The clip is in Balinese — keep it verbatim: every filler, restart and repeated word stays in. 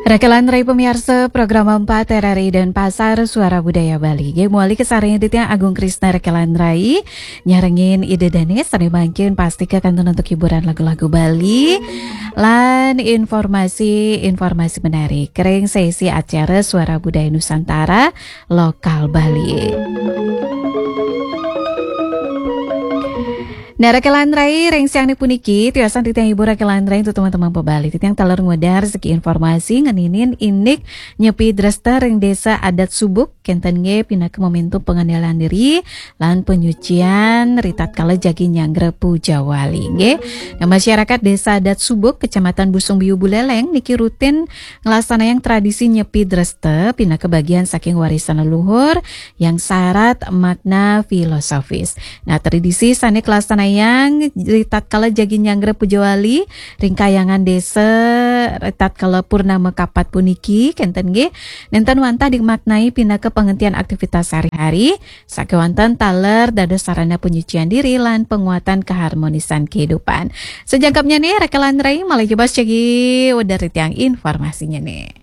Rakelan rai pamiarsa program empat R R I Denpasar Suara Budaya Bali. Nggih, mawali kasarengin titiang Agung Krisna Rakelan rai nyarengin Ida Dane sane mangkin pastika kantun antuk hiburan lagu-lagu Bali lan informasi-informasi menarik ring sesi acara Suara Budaya Nusantara lokal Bali. Nah, Rakelan rai ring siang puniki, tiosan titiang hibur Rakelan rai antuk teman-teman pamiarsa. Titiang taler ngwedar siki informasi ngeninin indik nyepi dresta ring Desa Adat Subuk, kenten nggih pinaka momentum pengenalan diri lan penyucian ritatkala jagi nyanggra puja wali nggih. Nah, masyarakat Desa Adat Subuk, Kecamatan Busung Biu Buleleng niki rutin nglaksanayang tradisi nyepi dresta pinaka bagian saking warisan leluhur yang sarat makna filosofis. Nah, tradisi sane kalaksanayang ritatkala jagi nyanggra puja wali ring kahyangan desa ritatkala purnama kapat puniki, kenten nggih, nenten wantah dimaknai pinaka penghentian aktivitas sehari-hari, sakewanten taler dados sarana penyucian diri lan penguatan keharmonisan kehidupan. Sajangkepnyane, Rakelan rai malih jebos jagi wedar titiang informasinyane.